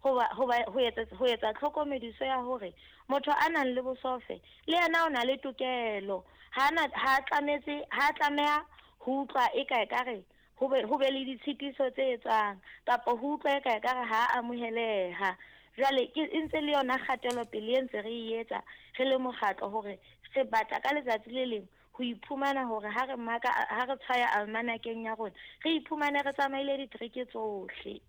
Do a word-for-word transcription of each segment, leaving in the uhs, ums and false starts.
Hoba hoba ho etsa ho etsa tlhokomediso ya hore motho a nang le bosofe le yena o na le tokelo. Ha na ha tlametse ha tlameha ho utlwa e ka ekare ho be ho be le ditshitiso tse etswang kapa ho utlwa e ka ekare ha amoheleha. Jwale ke e ntse le yona kgatelopele e ntse re e etsa re le mokgatlo hore re batla ka letsatsi le leng ho iphumana hore ha re maka ha re tshwaya almanakeng ya rona re iphumane re tsamaile ditereke tsohle.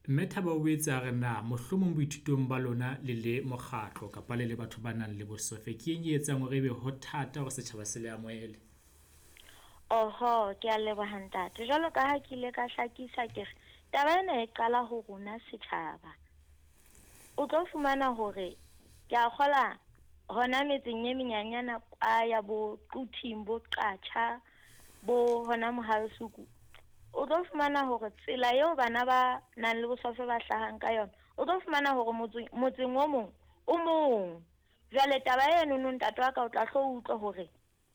Mme Thabo o boetse a re na mohlomong boithutong ba lona le le mokgatlo kapa le le batho ba nang le bosofe, ke eng e etsang hore ebe ho thata hore setjhaba se le amohele? Oho, ke a leboha ntate. Jwalo ka ha ke ile ka hlakisa ke re taba ena e qala ho rona setjhaba. O tlo fumana hore ke a kgola hona metseng e menyenyana kwa ya bo Quthing, bo Qacha, bo hona Mohale'shoek. O tlo fumana hore tsela eo bana ba nang le bosofe ba hlahang ka yona, o tlo fumana hore motseng motseng o mong o mong. Jwale taba eno no ntate wa ka o tla hlo utlwa hore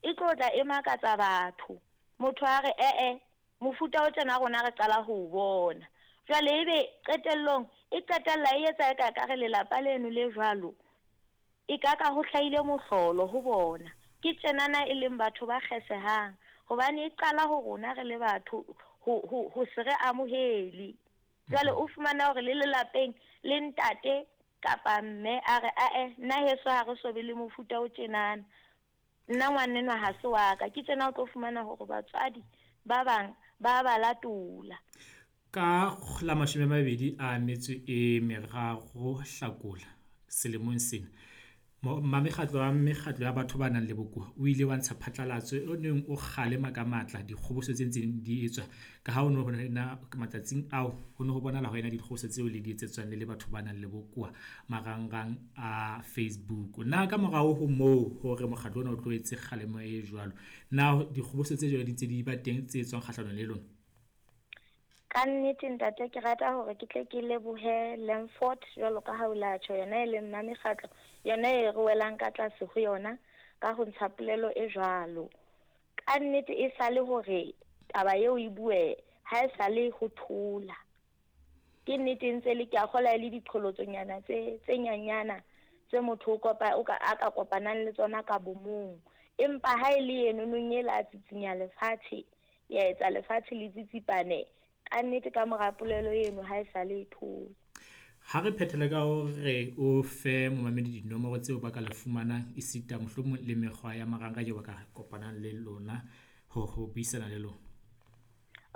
e tlo tla e makatsa batho. Motho a re eh eh mofuta o tjena rona re qala ho o bona. Jwale ebe qetellong e qetella e etsa eka ekare lelapa leno le jwalo e ka ka ho hlahile mohlolo ho bona. Ke tjenana e leng batho ba kgesehang hobane e qala ho rona re le batho ho ho ho se re amohele. Jwale o fumana hore le lelapeng le ntate kapa mme a re ae nna heso ha re so be le mofuta o tjenana. Nna ngwanenwa ha se wa ka. Ke tjena o tlo fumana hore batswadi ba bang ba ba latola. Ka la mashome a mabedi a metso e meraro Hlakola selemong sena, mamekgatlo wa mekgatlo ya batho ba nang le bokowa o ile wa ntsha phatlalatso o neng o kgalema ka matla dikgoboso tse ntseng di etswa ka ha ho no ho na matsatsing ao ho no ho bonahala ho ena dikgoboso tseo le di etsetswang le le batho ba nang le bokowa marangrang a Facebook. Na ka morao ho moo hore mokgatlo ona o tlo etse kgalemo e jwalo, na dikgoboso tse jwalo di ntse di ba teng tse etswang kgahlanong le lona? Ka nnete ntate, ke rata hore ke tle ke lebohe Lemford jwalo ka ha o la tjho, yona e leng mma mekgatlo, yona e re welang ka tlase ho yona ka ho ntsha polelo e jwalo. Ka nnete e sale hore taba eo e bue ha e sale ho thola. Ke nnete ntse le ke a kgola le diqholotsonyana tse tse nyanyana tse motho o kopa o ka a ka kopanang le tsona ka bomong. Empa ha e le eno nong e la tsitsinya lefatshe, ya etsa lefatshe le tsitsipane. Ka nnete ka mora polelo eno ha e sale e thola. Ha re phethele ka hore o fe momamedi dinomoro tseo ba ka le fumanang esita mohlomong le mekgwa ya marangrang eo ba ka kopanang le lona ho ho buisana le lona.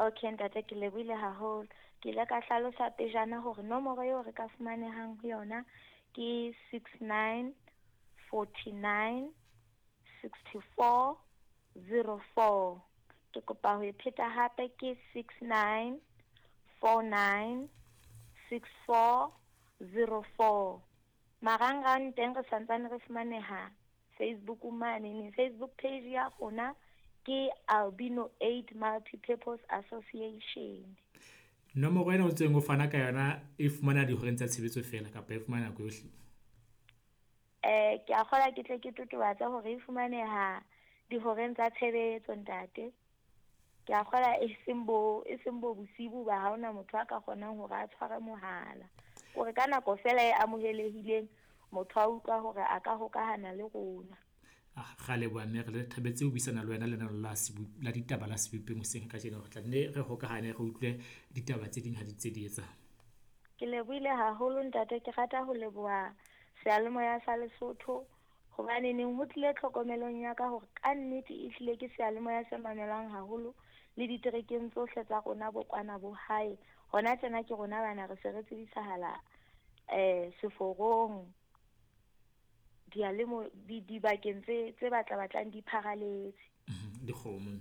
Okay ntate, ke lebohile haholo. Ke ile ka hlalosa pejana hore nomoro eo re ka fumanehang ho yona ke six nine forty nine sixty four zero four. Ke kopa ho e pheta hape ke six nine four nine six four zero four. Marangrang teng re santsane re fumaneha Facebook mane, ne Facebook page ya rona ke Albino Aid Multipurpose Association. Nomoro ena o ntseng o fana ka yona e fumana dihoreng tsa tshebetso feela kapa e fumana nako yohle? Eh, ke a kgola ke tle ke totobatse hore e fumaneha dihoreng tsa tshebetso ntate. Ke a kgola e seng bo, e seng bo bosibu ba ha hona motho a ka kgonang hore a tshware mohala. Hore ka nako feela e amohelehileng motho a utlwa hore a ka hokahana le rona. Ah, ra leboha mme re thabetse ho buisana le wena lenaneo la Sebo-, la ditaba la Sebopeng hoseng kajeno. Re tla nne re hokahane re utlwe ditaba tse ding ha di ntse di etsa. Ke lebohile haholo ntate, ke rata ho leboha seyalemoya sa Lesotho hobane neng ho tlile tlhokomelong ya ka hore ka nnete e hlile ke seyalemoya se mamelwang haholo le diterekeng tsohle tsa rona bo kwana bo hae. Hona tjena ke rona bana re se re tsebisahala, eh, seforong, diyalemo-, di-, dibakeng tse, tse batla batlang di pharaletse. Mhm, dikgomo.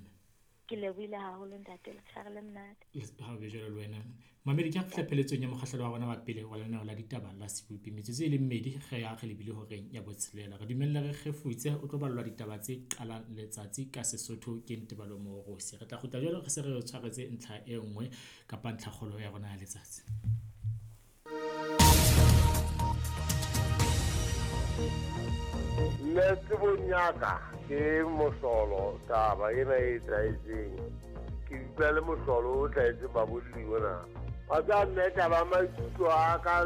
Ke lebohile haholo ntate, letshehare le monate. Yes, ha o be jwalo le wena. Mamedi, ke ha fihla pheletsong ya mokgahlelo wa rona wa pele wa lenaneo la ditaba la Sebopi. Metsotso e le mmedi re ya re lebile horeng ya botshelela. Re dumelle re kgefutse, o tlo ballwa ditaba tse qalang letsatsi ka Sesotho ke Ntebalo Moorosi. Re tla kgutla jwalo re se re tshwaretse ntlha e nngwe kapa ntlhakgolo ya rona ya letsatsi. Nna tsebong ya ka ke mohlolo taba ena e etsahetseng. Ke utlwa le mohlolo o hlahetseng babolli mona. Wa tseba mme taba ya maikutlo a ka